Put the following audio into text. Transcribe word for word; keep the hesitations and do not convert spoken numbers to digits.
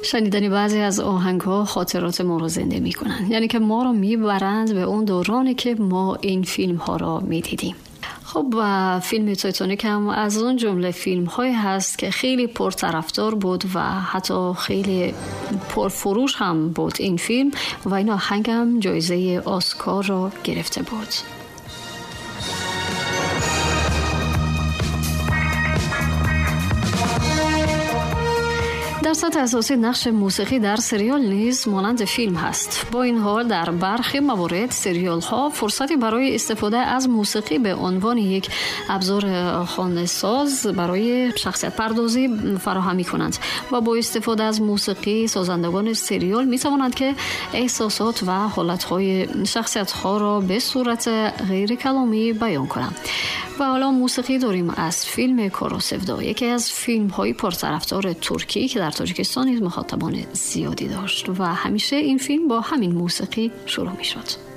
شنیدن بعضی از آهنگ‌ها خاطرات ما رو زنده می‌کنن، یعنی که ما رو میبرند به اون دورانی که ما این فیلم‌ها رو می‌دیدیم. خب و فیلم تایتانیک هم از اون جمله فیلم های هست که خیلی پرطرفدار بود و حتی خیلی پرفروش هم بود این فیلم و این آهنگ هم جایزه اسکار رو گرفته بود. در سطح اساسی نقش موسیقی در سریال نیز مانند فیلم هست. با این حال در برخی موارد سریال ها فرصتی برای استفاده از موسیقی به عنوان یک ابزار خانه‌ساز برای شخصیت پردازی فراهم می‌کنند و با استفاده از موسیقی سازندگان سریال می‌توانند که احساسات و حالت‌های شخصیت‌ها را به صورت غیر کلامی بیان کنند. و حالا موسیقی داریم از فیلم کاراسفدا، یکی از فیلم‌های پرطرفدار ترکی که در تاجیکستان نیز مخاطبان زیادی داشت و همیشه این فیلم با همین موسیقی شروع می‌شد.